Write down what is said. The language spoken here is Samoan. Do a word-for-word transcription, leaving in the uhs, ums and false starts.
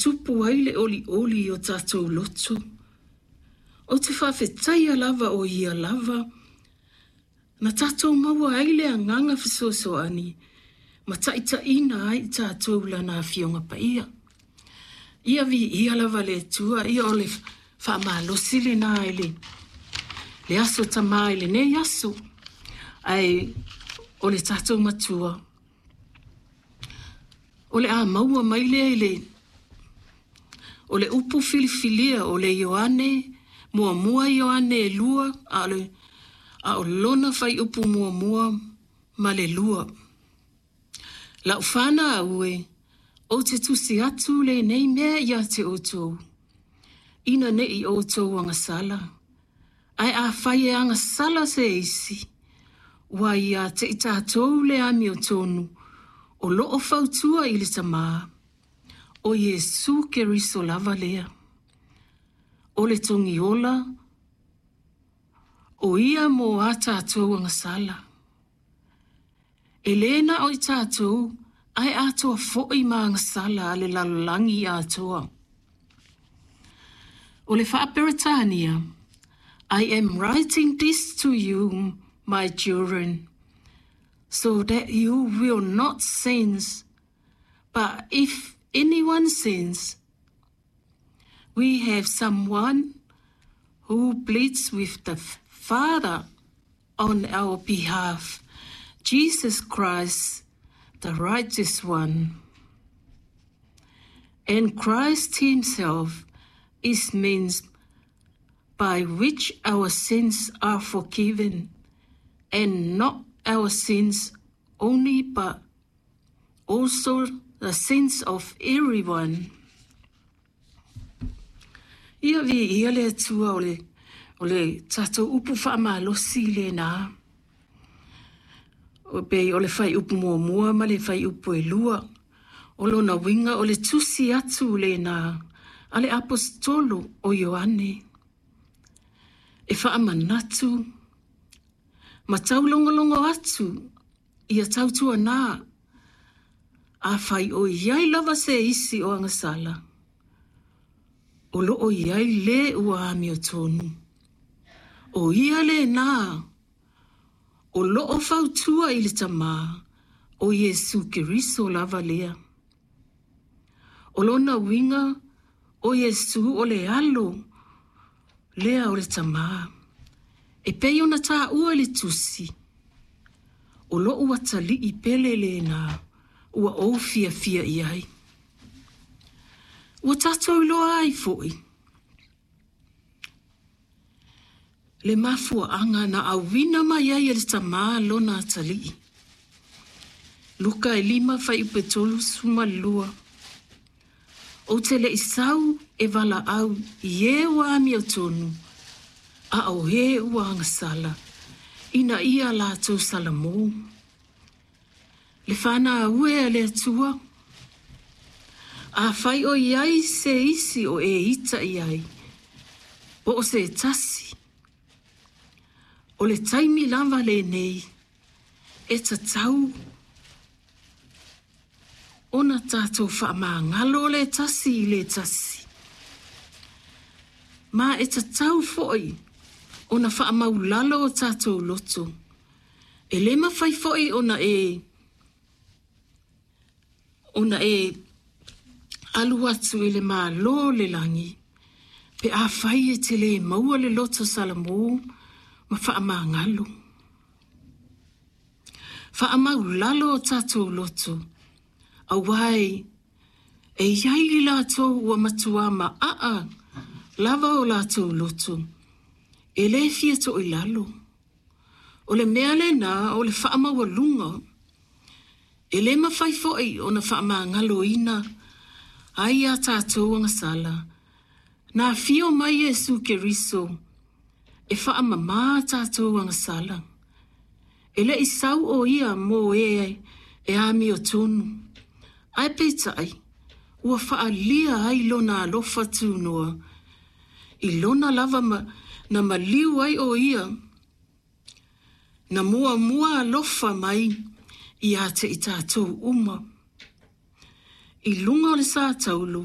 tupu ai le olioli i o tatou loto. Ou te faafetaia lava o ia lava na tatou maua ai le agaga fesoasoani ma taitaiina ai i tatou i Lana Afioga Paia. Ia viia lava le Atua, ia o le faamalosi lena i le, le aso Tamā i lenei aso. Ae o le tatou matua, o le a maua mai lea i le o le upu filifilia o le Ioane, muamua Ioane e lua, a o le a o lona fuaiupu muamua ma le lua. Lau fanau e, ou te tusi atu lenei mea ia te outou, ina ne i outou agasala. Ae afai e agasala se isi, ua ia te i tatou le amiotonu, o loo fautua i le Tamā, o Iesu Keriso lava lea. O le togiola, o ia mo a tatou agasala. E lē na o i tatou, ae atoa foi ma agasala a le lalolagi atoa. O le Faa-Peretania, I am writing this to you, my children, so that you will not sin. But if anyone sins, we have someone who pleads with the Father on our behalf, Jesus Christ, the righteous one. And Christ Himself is means by which our sins are forgiven, and not our sins only, but also the sins of everyone. Ia viia le Atua o le, o le tatou upu faamalosi lena. O pei o le fuaiupu muamua ma le fuaiupu e lua. O lona uiga o le tusi atu lena a le aposetolo o Ioane. E faamanatu ma taulogologo atu ia tautuana afai o iai lava se isi o agasala. O loo iai le ua amiotonu. O ia lena o loo fautua i le Tamā o Iesu Keriso lava lea. O lona uiga o Iesu o le alo lea o le Tamā. E pei ona taua i le tusi. O lou atalii pele lena ua ou fiafia i ai. Ua tatou iloa ai foi. Le mafuaaga na auina mai ai e le Tamā lona atalii. Luka e lima fuaiupu e tolusefulu ma le lua. Ou te le i sau e valaau i e ua amiotonu, a o e ua agasala, ina ia latou salamo. Le fanau e a le Atua, afai o iai se isi o e ita i ai, po o se tasi. O le taimi lava lenei, e tatau ona tatou faamagalo le tasi i le tasi. Ma e tatau foi ona faamaulalo o tatou loto. E le mafai foi ona e ona e alu atu i le Malo o le lagi, pe afai e te le maua le loto salamo ma faamagalo. Faamaulalo o tatou loto, auā e iai i latou ua matua maaa lava o latou loto, e le fia toilalo. O le mea lena o le faamaualuga, e le mafai foi ona faamagaloina ai a tatou agasala. Na afio mai Iesu Keriso e faamamā tatou agasala. E le i sau o ia mo e e amiotonu. Ae peitai, ua faalia ai lona alofa tunoa. I lona lava ma, na maliu ai o ia. Na muamua alofa mai ia te i tatou uma. I luga o le sa taulu,